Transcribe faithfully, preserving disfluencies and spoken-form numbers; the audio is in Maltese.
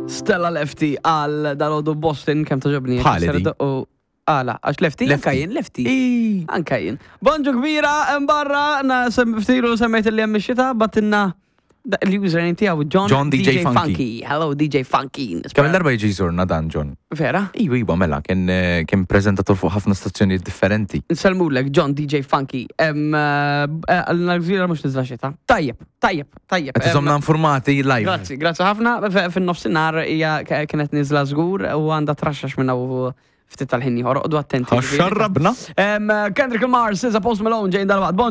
Stella Lefty għal dal-għodu Boston, kemm togħġobni. Bħali di. Għala, għax Lefty, Lefty. anka jien, Lefty. Ej. Anka jien. Bonġu kbira, barra, na sem- ftiru semmejt li hemm ix-xita, batinna da- l-username tiegħu John, John D J Funky. Hello D J Funky. Kemm darba jiġi jżurna dan John? Vera? Iwa, iwa, mela, kien eh, kien prezentatur fuq ħafna stazzjonijiet differenti. Nsellmulek John D J Funky. Em, eh, Għalna gżira mhux niżla xita. Tajjeb, tajjeb, tajjeb. Qed Em, iżomna informati live. Grazzi, grazzi ħafna. F- Fin-nofsinhar hija k- kienet niżla żgur u għandha traxxax minna u ftit tal-ħin ieħor. Oqogħdu attenti. Xarrabna. Em, Kendrick Lamar, S Z A, Post Malone, ġejn dal-waqt. Bon